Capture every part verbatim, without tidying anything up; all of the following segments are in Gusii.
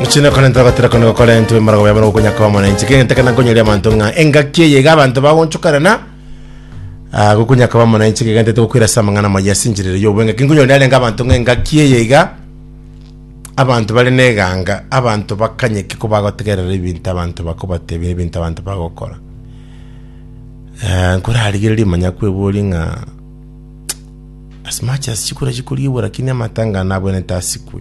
Muchine konenta gotera kono gokorentwe marago yabona gokonya kwa mwananchi kente kana nkonyeria abanto ng'a engaki eye iga abanto bagonchokarana ah, gokonya kwa mwananchi kegente togokwira ase amang'ana amaya ase enchera ere y'obwenge kinkonyoria arenge abanto ng'a engaki eye iga abanto bare na eganga abanto bakanyeke ko bagotegerera ebinto abanto bakobatebia ebinto abanto bagokora eh, nkorarigereria manya kweboria ng'a as much as chikura chikoriegwa lakini amatanga nabwenerete asikwe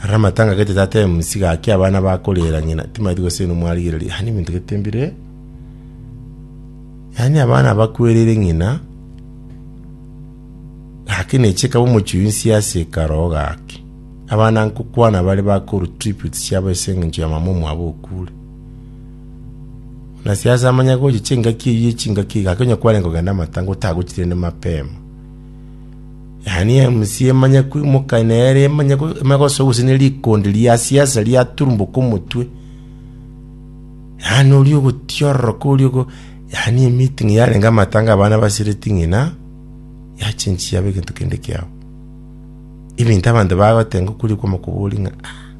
Ara amatanga gete tata MC gaki abana bakorera ng'ina timanyeti gose inwe mwarigereria yaani ebinto gete mbire yaani abana bakwereire ng'ina gaki neche ekaba omochie oyio nsiasa ekaroo gaki abana nkokwana bare bakorwa tributes chiabo ase eng'encho ya mama omwabo okure. Buna siasa amanye gocha chingaki eyio chingaki gaki onye kwarenge kogenda amatanga otagochi rende mapema. Yaani MC emanye koimoka nere emanye ko emanye gosoa gose ne rikondi ria siasa riaturumboka omotwe. Yaani oria ogotiororoka oria ogo yaani emeeting yarenge amatanga abana basireti ng'ina, yachenchia yaba egento kende kiabo. Ebinto abanto bagotenga okoria kwama koboria ng'a ah,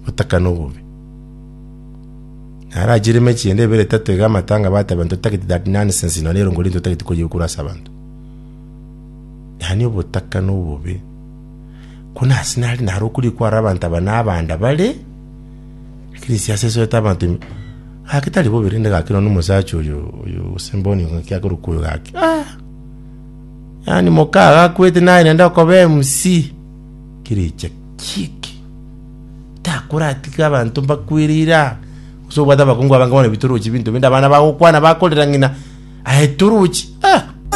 botaka na obobe. Narachire emechi ende ebere etato iga amatanga bateba ntotageti that nonsense nonye erongo riria ntotageti koyia korwa ase abanto. Yaani obotaka na obobe, ko nase nare naro okoria kwarora abanto aba na abanda bare, lakini siasa esoete abanto ime, gaki tari bobe rende gaki nonye omosacha oyo oyo gose mboni ng'aki akorokwa oyo gaki ah! Yaani moka agakwete naye naende okoba MC, kerecha ki eke? Takoratiga abanto mbakwereire aa, gose obwate abakungu abange bono bitorochi binto binde abana bagokwana bakorera ng'ina, aye torochi ah!